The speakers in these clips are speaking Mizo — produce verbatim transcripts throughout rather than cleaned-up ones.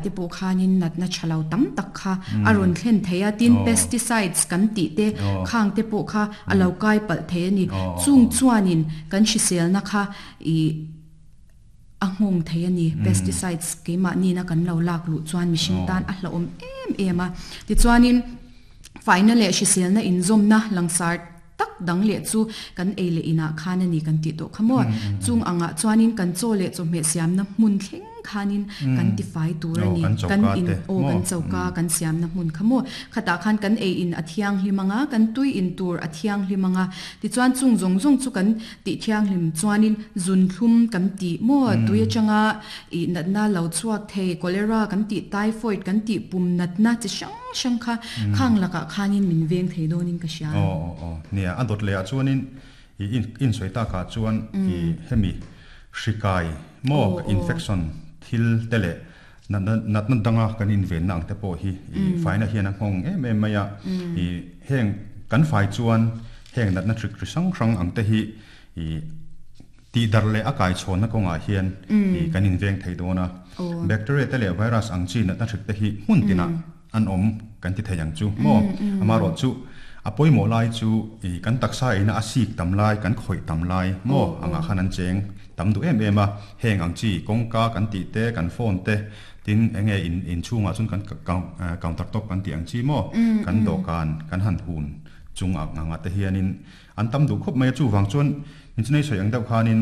te pawh khanin natna thalo tam tak kha a rawn thlen thei a tin pesticides kan tih te khang te pawh kha a lo kai palh thei ani chung chuanin kan hriselna kha ih a nghawng thei ani pesticides keimahni na kan lo lak luh chuan mihring tan a hlauhawm em em a tichuanin faina leh hriselna inzawmna langsar tak dang leh chu kan ei leh inah khan ani kan tih tawh kha maw chung angah chuanin kan chaw leh chawhmeh siamna hmun thleng khanin kan tifai tur ani kan in aw kan choka kan siamna hmun kha maw khatah khan kan ei in a thianghlim anga kan tui in tur a thianghlim anga tichuan chung zawng zawng chu kan tih thianghlim chuanin zun thlum kan tih maw tui atanga ih natna lo chhuak thei cholera kan tih typhoid kan tih pum natna chi hrang hrang kha khang lakah khanin min veng thei dawnin ka hria. Aw aw aw nia a dawt leh ah chuanin ih in in sawi takah chuan ih hemi hrikai maw infection thil te leh natna natna danga kan invenna ang te pawh hi ih faina hian a nghawng em em mai a ih heng kan fai chuan heng natna hrik ri hrang hrang ang te hi ih tih darh leh a kai chhawnna kawngah hian ih kan inveng thei dawn a bacteria te leh virus ang chi natna hrik te hi hmun tinah an awm kan ti thei ang chu maw amaherawh chu a pawimawh lai chu ih kan taksa ina a sik tam lai kan khawih tam lai maw angah khan an cheng tam duh em em a heng ang chi kawngka kan tih te kan phone te tin enge in inchhungah chuan kan counter top kan tih ang chi maw kan dawhkan kan han hun chung ang angah te hianin an tam duh khawp mai a chuvang chuan inchunei sawi ang deuh khanin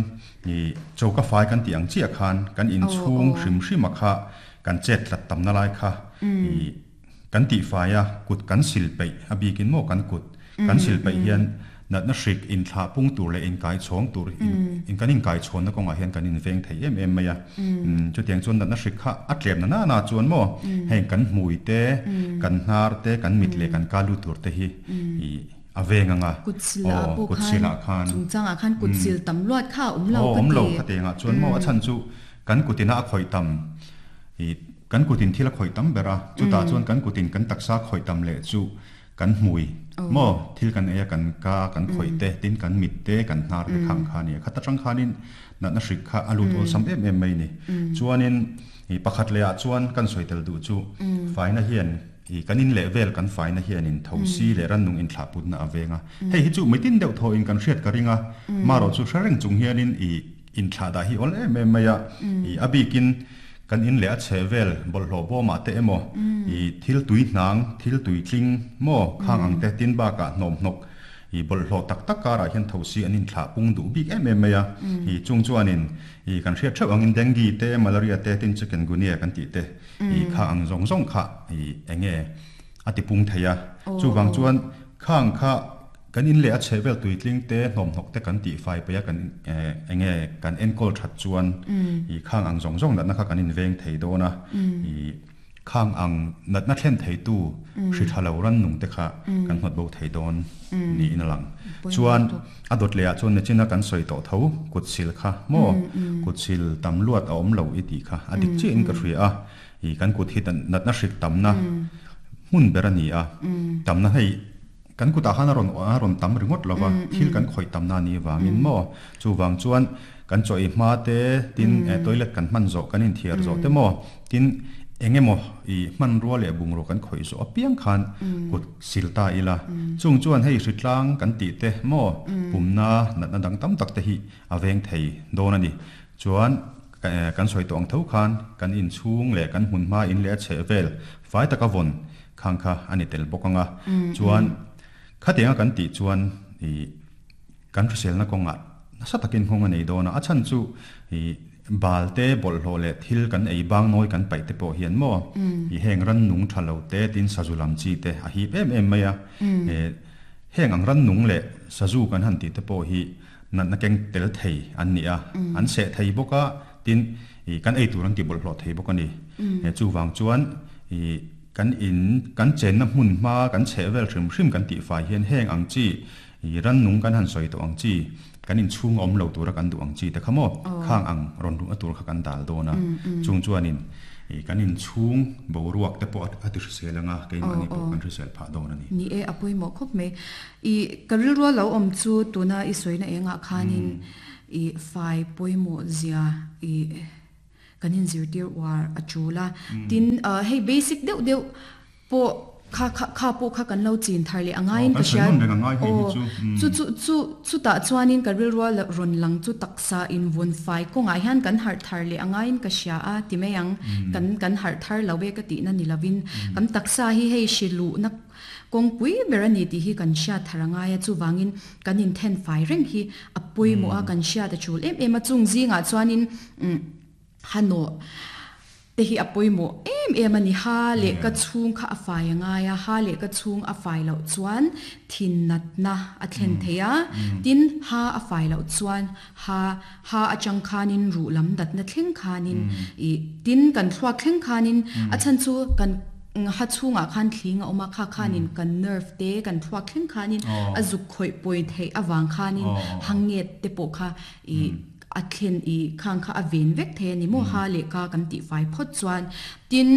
ih choka fai kan tih ang chiah khan kan inchhung hrim hrim a kha kan chet tlat tamna lai kha ih kan tih fai a kut kan sil peih a bikin maw kan kut kan sil peih hian natna hrik inthlah pung tur leh inkai chhawng tur in kan inkai chhawnna kawngah hian kan inveng thei em em mai a chutiang chuan natna hrik kha a tlem na na na chuan maw heng kan hmui te kan hnar te kan mit leh kan ka lut tur te hi ih a veng anga kut silah pawh kut silah khan chungchangah khan kut sil tam luat kha a awm lo awm lo kha tengah chuan maw a chhan chu kan kutina a khawih tam ih kan kutin thil a khawih tam ber a chutah chuan kan kutin kan taksa khawih tam leh chu kan hmui maw thil kan ei a kan ka kan khawih te tin kan mit te kan hnar te khang kha ania khat atang khanin natna hrik kha a lut awlsam em em mai ni chuanin ih pakhat leh ah chuan kan sawi tel duh chu faina hian ih kan in leh vel kan faina hianin thosi leh rannung inthlah putna a veng a hei hi chu mitin deuh thaw in kan hriat ka ring a marawh chu hre reng chung hianin ih inthlah dah hi awl em em mai a ih a bikin kan in leh a chhe vel bawlhhlawh bawmah te emaw ih thil tui hnang thil tui tling maw khang ang te tin bakah hnawm hnawk ih bawlhhlawh tak tak karah hian thosi an inthlah pung duh bik em em mai a ih chung chuanin ih kan hriat theuh angin dengue te malaria te tin chikungunya kan tih te ih kha ang zawng zawng kha ih enge a ti pung thei a chuvang chuan khang kha kan in leh a chhe vel tui tling te hnawm hnawk te kan tih fai peih a kan enge kan enkawl that chuan ih khang ang zawng zawng natna kha kan inveng thei dawn a ih khang ang natna thlen thei tu hri tha lo ran nung te kha kan hnawt bo thei dawn niin a lang chuan a dawt leh ah chuan nachina kan sawi tawh tho kut sil kha maw kut sil tam luat a awm lo i tih kha a dik chiah in ka hria a ih kan kut hi natna hrik tamna hmun ber a ni a tamna hei kan kutah khan a rawn a rawn tam ringawt lova thil kan khawih tamna a nih vangin maw chuvang chuan kan chaw ei hma te tin toilet kan hman zawh kan inthiar zawh te maw tin engemaw ih hmanrua leh bungraw kan khawih zawh apiang khan kut sil ta ila chung chuan hei hritlang kan tih te maw pumna natna dang tam tak te hi a veng thei dawn a ni chuan kan sawi tawh ang tho khan kan inchhung leh kan hmun hma in leh a chheh vel fai taka vawn khang kha a ni tel bawk anga chuan khatianga kan tih chuan ih kan hriselna kawngah nasa takin nghawng a nei dawn a a chhan chu ih bal te bawlhhlawh leh thil kan ei bang nawi kan paih te pawh hian maw ih heng rannung tha lo te tin sazu lam chi te a hip em em mai a eh heng ang rannung leh sazu kan han tih te pawh hi natna keng tel thei an ni a an seh thei bawk a tin ih kan ei tur an ti bawlhhlawh thei bawk a ni eh chuvang chuan ih kan in kan chenna hmun hma kan chheh vel hrim hrim kan tih fai hian heng ang chi ih rannung kan han sawi tawh ang chi kan inchhung a awm lo tura kan duh ang chi te kha maw khang ang rawn luhna tur kha kan dal dawn a chung chuanin ih kan inchhung boruak te pawh a ti hrisel anga keimahni pawh kan hrisel phah dawn a ni. Ni e a pawimawh khawp mai ih ka rilru a lo awm chu tuna i sawina engah khanin ih fai pawimawh zia ih Kanin zirtir war achula tin hei basic deuh deuh po kha kha kha po kha kan lo chin thar le angain ka sha chu chu chu chu chu ta chuanin ka ril rual ron lang chu taksa in von fai ko ngai han kan har thar le angain ka sha a ti meyang kan kan har thar lawe ka ti na nilovin kan taksa hi hei shilu na kong pui berani ti hi kan sha tharanga ya chu wangin kan in then fai reng hi apui mo a kan sha ta chul em em a chung zinga chuanin hano te hi apoi mo em em ani ha le ka chung kha a fai anga ya ha le ka chung a fai lo chuan thin nat na a thlen theya tin ha a fai lo chuan ha ha a chang khanin ru lam dat na thleng khanin i tin kan thluak thleng khanin a chan chu kan ha chunga khan thlinga oma kha khanin kan nerve te kan thluak thleng khanin a zuk khoi poi thei awang khanin hanget te po kha i a thlen i khang kha a ven vek the ni mo ha le ka kan ti fai phot chuan tin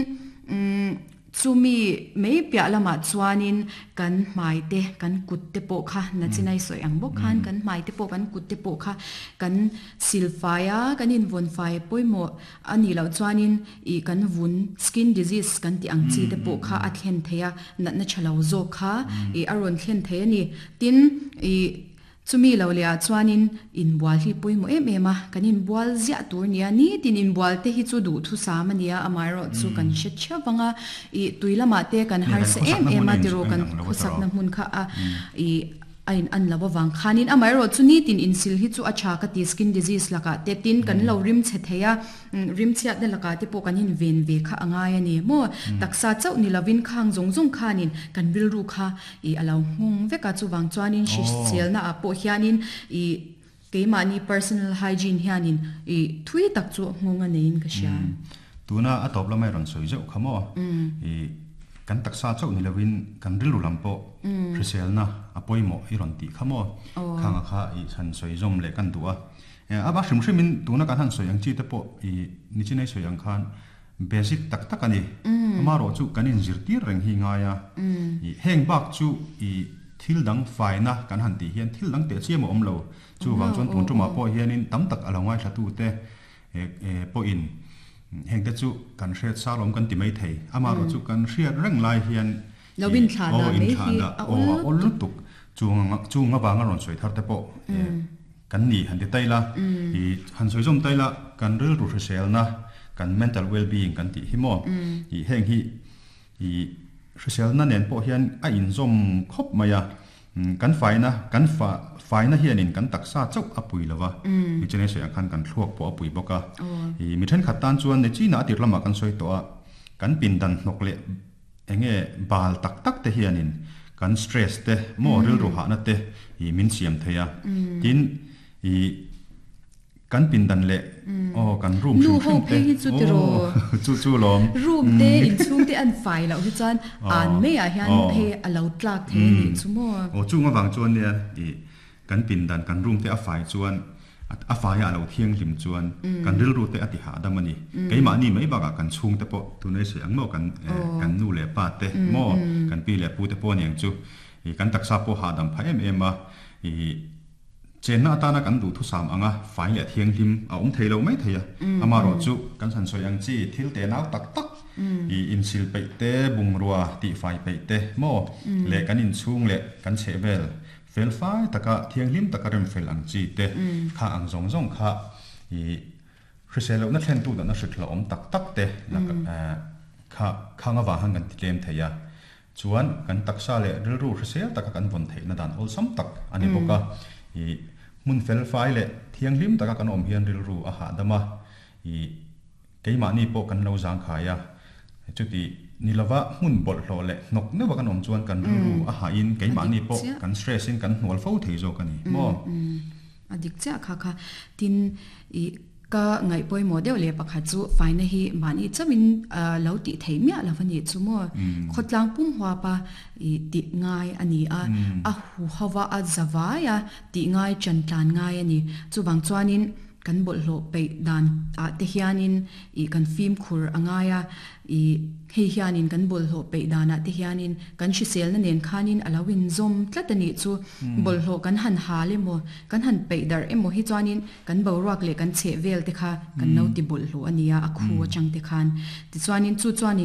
chumi mei pya lama chuanin kan mai te kan kut te po kha na chinai soi ang bok khan kan mai te po kan kut te po kha kan silfaya kan in von fai poimo ani lo chuanin i kan vun skin disease kan ti ang chi te po kha a thlen theya na na chalo zo kha i aron thlen the ni tin i chumi lo le a chuanin in bual hi poimo em em a kanin bual zia tur nia ni tin in bual te hi chu du thu sam ania amai ro chu kan she chawanga i tuilama te kan har se em em a tiro kan khusak na hmun kha a i ain an lawa wang khanin amai ro chu ni tin in sil hi chu acha ka ti skin disease laka te tin kan lo rim che theya rim chiat na laka te po kan in ven ve kha angai ani mo taksa chau ni lovin khang zong zong khanin kan bil ru kha i alo hung veka chu wang chuanin shi sel na apo hianin i keima ni personal hygiene hianin i thui tak chu ngonga nein ka sha tuna atop lamai ron soi zau khamo i kan taksa chau ni lovin kan rilu lampo hrisel na apoi mo i ron ti khamo khanga kha i chan soi zom le kan duwa aba hrim hrimin tuna kan han soi ang chi te po i nichinai soi ang khan basic tak tak ani ama ro chu kanin zirtir reng hi nga ya i heng bak chu i thil dang fai na kan han ti hian thil dang te chiam om lo chu wang chuan tun tuma po hianin tam tak alongai thla tu te e po in heng te chu kan hriat salom kan ti mai thei ama ro chu kan hriat reng lai hian lovin thla na mai hi a ol tuk chu chu nga wanga ron soi thar te po kan ni han ti taila i han soi zom taila kan ril ru hrisel na kan mental well being kan ti hi mo i heng hi i hrisel na nen po hian a in zom khop maya kan fai na kan fa fai na hianin kan taksa chau apui lawa mi chene soi khan kan thluak po apui boka i mi then khat tan chuan ne chi na atir lama kan soi to a kan pin dan hnok le enge bal tak tak te hianin kan stress te mo ril ru ha na te i min siam theya tin i kan pin dan le o kan room nu ho phe hi chu tiro chu chu lom room te in chung te an fai lo hi chuan an me a hian phe a lo tlak the ni chu mo o chu nga wang chuan ne i kan pin dan kan room te a fai chuan a fai a lo thiang lim chuan kan ril ru te ati ha damani keima ni mai baka kan chung te po tunai se ang mo kan kan nu le pa te mo kan pi le pu te po niang chu i kan taksa po ha dam pha em em a i chen na ta na kan du thu sam anga fai le thiang lim a om theilo mai theia ama ro chu kan san soi ang chi thil te nau tak tak i in sil pe te bungrua ti fai pe te mo le kan in chung le kan che vel fel fai taka thiang lim taka rem fel ang chi te kha ang zong zong kha i hriselo na thlen tu da na hritla om tak tak te kha khanga wa hang kan tlem theia chuan kan taksa le rilru hrisel taka kan von thei na dan ol sam tak ani boka i mun fel fai le thiang lim taka kan om hian rilru a ha dama i keima ni po kan lo jang khaya chuti nilawa mun bol hlo le nok ne wa kan om chuan kan rilru a ha in keima ni po kan stress in kan hnual fo thei zo kan ni mo adik cha kha kha tin i ka ngai poi mo deuh le pakhat chu faina hi mani chamin lo ti thei mia lawani chu mo khotlang pum hwa pa i ti ngai ani a a hu hawa a zawaya ti ngai chan tlan ngai ani chu wang chuanin kan bawlhhlawh peih dan ah te hianin ih kan fimkhur a ngai a ih hei hianin kan bawlhhlawh peih danah te hianin kan hriselna nen khanin a lo inzawm tlat a nih chu bawlhhlawh kan han hal emaw kan han peih darh emaw hi chuanin kan boruak leh kan chheh vel te kha kan lo ti bawlhhlawh a ni a a khu atang te khan tichuanin chu chuanin